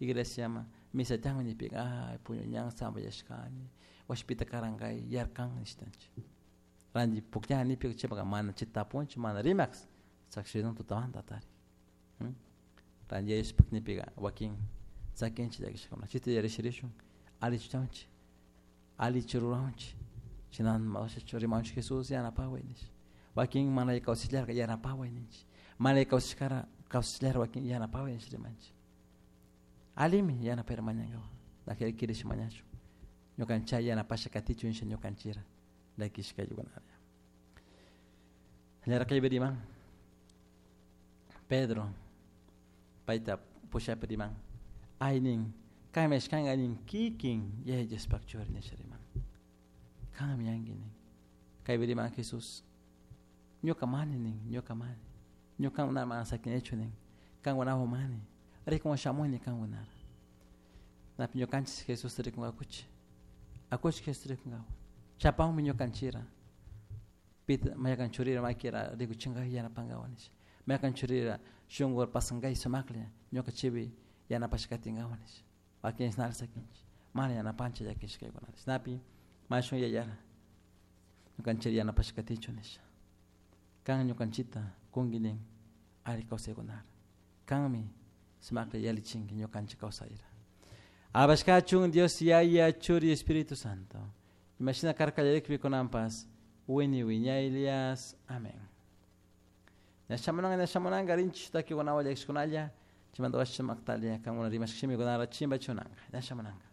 Iglesiaman misa tiyanmi nipika ay puñuñan sambayashkani washpita karankay yarkan nishtanchik. Ranti pukllana nipika chaypaka mana chay tapunchik mana rimak sakshidun tutamanta atarik. Ranti yayashpak nipika wakin sakinchik llakishkakuna chayta yarishirishun allichunchik allichu ruranchik china rimanchik Jesus yanapaway nish wakin mana kawsashallarka yanapaway ninchik mana kawsashkara kawsashallara wakin yanapaway nish rimanchik allimi yanapayra mañankawa kirish mañashun ñukanchik yanapasha katichun nisha ñukanchira llakishkaykunalla. Llarkaypi riman Pedro payta pushapi riman ay nin kanmi ashkanka nin kikin Yaya Diospak churi nisha riman kanmi yanki nin kaypi riman Jesús ñuka mani nin ñuka mani ñuka mana sakinichu nin kankunawan mani rikun shamuni kankunara napi ñukanchik Jesusta rikunkakuchik akuchik Jesusta rikunkawa chapanmi ñukanchira pita maykan churira makira rikuchinka yanapankawa nisha maykan churira shunku pasankay sumaklla ñuka chipi yanapashkatinkawa nisha wakin nali sakinchik mana yanapanchik llakishkaykunata chashnapi mashun yayara ñukanchik yanapashkatichu nisha kan ñukanchikta kunki nin alli kawsaykunara kanmi sumaklla yalichinki ñukanchik kawsayra. Alabashkachun Dios Yaya Churi Espíritu Santo. Imashina karka kallarikpi kunanpas wini wiñaylias. Amén. Ña shamunanka ña shamunanka rinchik takikunawan llakishkunalla chaymanta washa maktalia kankuna rimashka shimikunara chimbachunanka ña shamunanka.